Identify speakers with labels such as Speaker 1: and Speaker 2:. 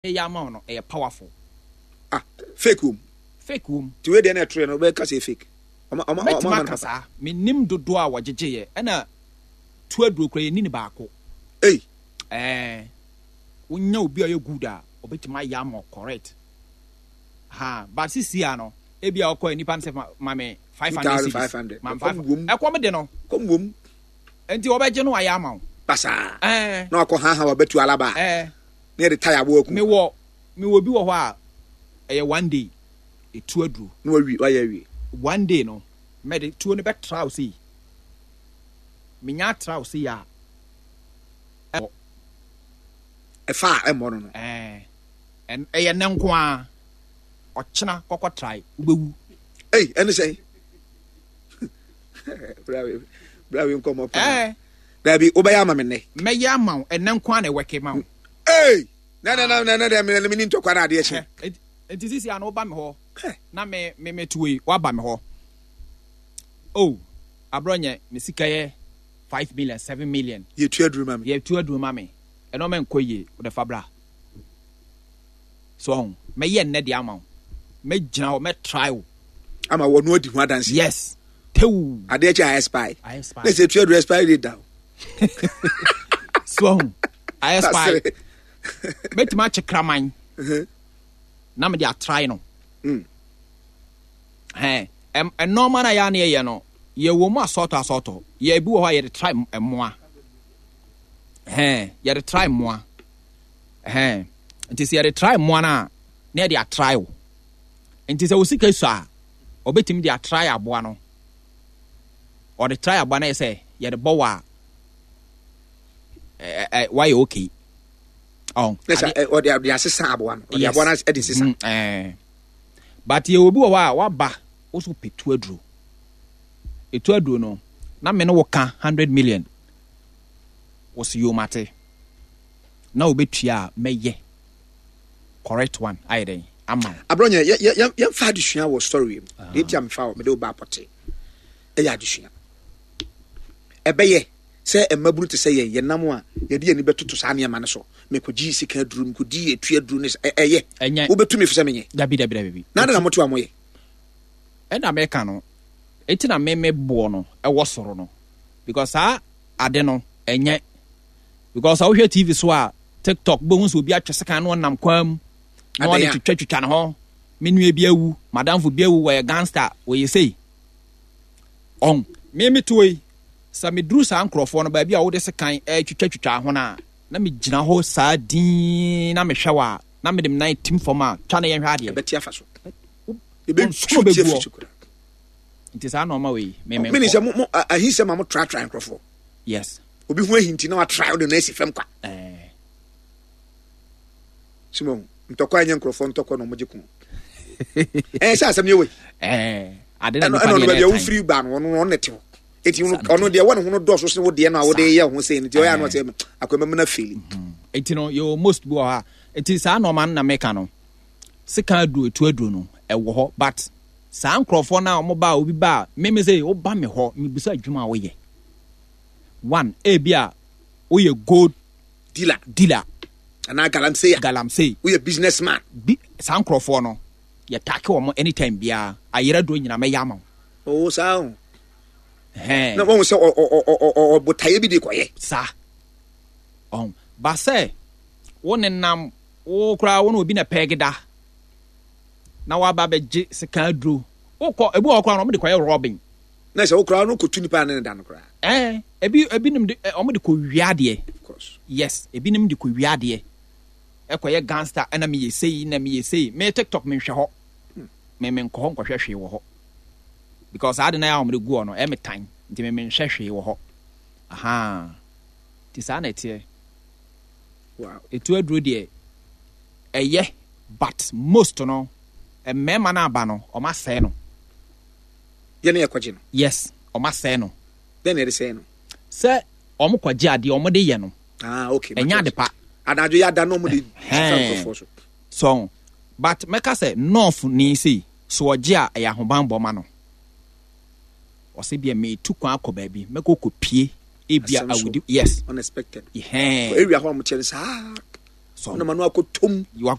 Speaker 1: Meyɛ ama wo no ɛyɛ powerful.
Speaker 2: Ah fake wom.
Speaker 1: Fake wom.
Speaker 2: Ti wei deɛ na ɛtoro yɛ no wobɛka sɛ fake.
Speaker 1: Ɔma ɔma ɔma ama no saa. Menim dodoɔ a wɔgyegye yɛ ɛna tu aduro kura yɛni ne baako.
Speaker 2: Ei.
Speaker 1: Ɛɛ wonya obi a ɔyɛ good a ɔbɛtumi ayɛ ama correct. Ha but sisi a no ebi a ɔkɔ nipa no sɛ ma me 500 cedis. Ma me 500. Ɛkɔm de no.
Speaker 2: Kɔm wom.
Speaker 1: Nti wɔbɛgye no ayɛ ama wo.
Speaker 2: Basaa. Ɛɛ. Na wakɔ ha ha wabɛtu alaba.
Speaker 1: Ɛɛ.
Speaker 2: Na yɛde tae aboa aku.
Speaker 1: Mewɔ mewɔ bi wɔ hɔ a ɛyɛ one day etu aduro.
Speaker 2: Na wawie wayɛ awie.
Speaker 1: One day no mɛde tuo no bɛtra wo sei menya atra wo sei a ɛmmɔ.
Speaker 2: Ɛfa a ɛmmɔ no no.
Speaker 1: Ɛɛ ɛyɛ nnɛ nko ara ɔkyena kɔkɔ trae wobɛwu.
Speaker 2: Ei ɛne sɛn? Bra wei nkɔmmɔ paa.
Speaker 1: Ɛɛ.
Speaker 2: Dabi wobɛyɛ ama me nnɛ.
Speaker 1: Mɛyɛ ama wo ɛnɛ nko ara na ɛwɛke ma wo.
Speaker 2: Ei! Na na na na na deɛ me me ni ntɔkwa na adeɛ kye.
Speaker 1: Nti sisi ano woba me hɔ na me me me to yi waba me hɔ. Oh, abrɔ nyɛ me sika yɛ 5 million, 7 million.
Speaker 2: Yɛ tu aduru ma me.
Speaker 1: Yɛ tu aduru ma me. Ɛno mɛ nkɔ yie, wode fa bra. So ɔho, mɛyɛ nnɛ deɛ ama wo. Mɛgyina hɔ, mɛ try wo.
Speaker 2: Ama wɔn no adi ho adanse.
Speaker 1: Yes. Tew.
Speaker 2: Adeɛ kyɛ a expire. Na sɛ tu aduru expire date da o.
Speaker 1: So ɔho, ayɛ expire. Mɛtumi akye kraman. Na mede atry no. Ɛn, ɛnɔɔma no a yɛa ne yɛyɛ no, yɛwɔ mu asɔɔtɔ asɔɔtɔ. Yɛ bi wɔ hɔ a yɛde try mmoa. Ɛn, yɛde try mmoa. Ɛhɛn. Nti sɛ yɛde try mmoa no a, na yɛde atry wo. Nti sɛ wo sika sua a, ɔbɛtumi de atry aboa no. Ɔde try aboa no yɛ sɛ yɛde bɔ wo a, ɛ wayɛ okay.
Speaker 2: Ɔn. Ne sɛ ɔde ɔde asesa aboa no. Ɔde aboa no de sesa.
Speaker 1: Mm, But yɛ obi wɔ hɔ a waba wo so pɛ tu aduro. Etu aduro no, na me ne wo ka 100 million. Wo so yomate. Na wobɛtua a mɛyɛ correct one ayɛ dɛn ama wo.
Speaker 2: Abrɔnyɛ yɛ yɛ yɛmfa adesua wɔ story mu. Deɛ nti a mefa wɔ mede wo ba apɔte ɛyɛ adesua. Ɛbɛyɛ sɛ mmabunu te sɛ yɛn yɛnam a yɛde yɛn ani bɛtoto saa nneɛma no so. Mekɔgye sika aduro, mekɔdi etu aduro ne ɛyɛ.
Speaker 1: Ɛnyɛ.
Speaker 2: Wobɛtu me fo sɛ menyɛ.
Speaker 1: Dabi dabi dabi.
Speaker 2: Na ade na moto a moyɛ.
Speaker 1: Ɛna meka no, eti na me me boɔ no ɛwɔ soro no because saa ade no ɛnyɛ. Because sɛ wohwɛ TV so a, TikTok, wobɛhu sɛ obi atwe sekan na ɔnam kwan mu na ɔde twitwatwitwa ne ho. Me nua bi awu, madamfo bi awu, wɔyɛ gangster, wɔyɛ sei. Ɔn, me me toɔ yi, sɛ meduru saa nkurɔfoɔ no baabi a wode sekan ɛretwitwatwitwa ho no a, na megyina hɔ saa dinn na mehwɛ wɔ a, na mede me nan tim fam a, twa na yɛnhwɛ adeɛ.
Speaker 2: Ɛbɛte afa so.
Speaker 1: Ɛbɛtu ti afi so koraa. Nti saa nɔɔma wei, me me nkɔ.
Speaker 2: Mene sɛ mo ahinsɛm a mo tratra nkurɔfoɔ.
Speaker 1: Yes.
Speaker 2: Obi ho ahinti na watra wode no asi fam kwa.
Speaker 1: Eh.
Speaker 2: Simon, ntɔkwa nyɛ nkurɔfoɔ ntɔkwa na ɔmogye ko. Ɛɛ sɛ asɛm yɛ wei.
Speaker 1: Eh, ade na nipa
Speaker 2: deɛ na ɛtan. Wofiri ba no ɔno ɔno na ɛte hɔ. Eti ɔno deɛ wɔ ne ho no dɔɔso sene wo deɛ no a wode yɛ ho sɛ no nti ɔyɛ ano sɛ akɔma mu na fili.
Speaker 1: Eti no yɛ most bi wɔ hɔ a eti saa nɔɔma no na meka no. Sika aduro etu aduro no ɛwɔ hɔ but saa nkurɔfoɔ no a wɔn ba a obi ba a meme sɛ woba me hɔ mebisa adwuma a woyɛ. One, ebia woyɛ gold
Speaker 2: dealer,
Speaker 1: dealer.
Speaker 2: Anaa galamsey.
Speaker 1: Galamsey.
Speaker 2: Woyɛ business man.
Speaker 1: Bi saa nkurɔfoɔ no yɛ take wɔn anytime biara ayerɛ duro nyina mɛyɛ ama wo.
Speaker 2: Oo saa o.
Speaker 1: Hɛn.
Speaker 2: Na wɔn sɛ ɔ ɔ ɔ ɔ ɔbotaeɛ bi de kɔyɛ.
Speaker 1: Saa. Ɔn ba sɛ wo nenam wo koraa wo na obi na pɛɛge da na waba abɛgye sika aduro wokɔ ebi wɔ hɔ koraa na wɔn de kɔyɛ robbing.
Speaker 2: Na sɛ wo koraa no kɔtu nipa ne ne da no koraa.
Speaker 1: Ɛɛ ebi ebinom de wɔn de kɔ wia adeɛ.
Speaker 2: Of course.
Speaker 1: Yes, ebinom de kɔ wia adeɛ. Ɛkɔyɛ gangster ɛna meyɛ sei na meyɛ sei. Me TikTok menhwɛ hɔ. Me menkɔ hɔ nkɔhwɛ hwee wɔ hɔ. Because saa ade na yɛ a wɔn de gu hɔ no ɛyɛ me tan nti me menhwɛ hwee wɔ hɔ. Ahaa. Nti saa na ɛteɛ.
Speaker 2: Wow.
Speaker 1: Etu aduro deɛ ɛyɛ but most no mmarima no aba no wɔn asɛe no.
Speaker 2: Yɛ ne yɛkɔgye no.
Speaker 1: Yes, wɔn asɛe no.
Speaker 2: Dɛn na yɛde sɛe no?
Speaker 1: Sɛ wɔn kɔgye adeɛ wɔn de yɛ no.
Speaker 2: Ah, okay.
Speaker 1: Ɛnyɛ ade pa.
Speaker 2: Anadwo yɛ ada na wɔn de fa nkurɔfoɔ so.
Speaker 1: So, but mɛka sɛ north ni sei so ɔgye a ɛyɛ ahobanbɔ ma no. Ɔsɛ bia metu kwan akɔ baabi mɛkɔ kɔ pie ebia awudi yes.
Speaker 2: Unexpected.
Speaker 1: Hɛn.
Speaker 2: Area hɔ a wɔn kyɛ no saa. Wonam ano akɔtɔm.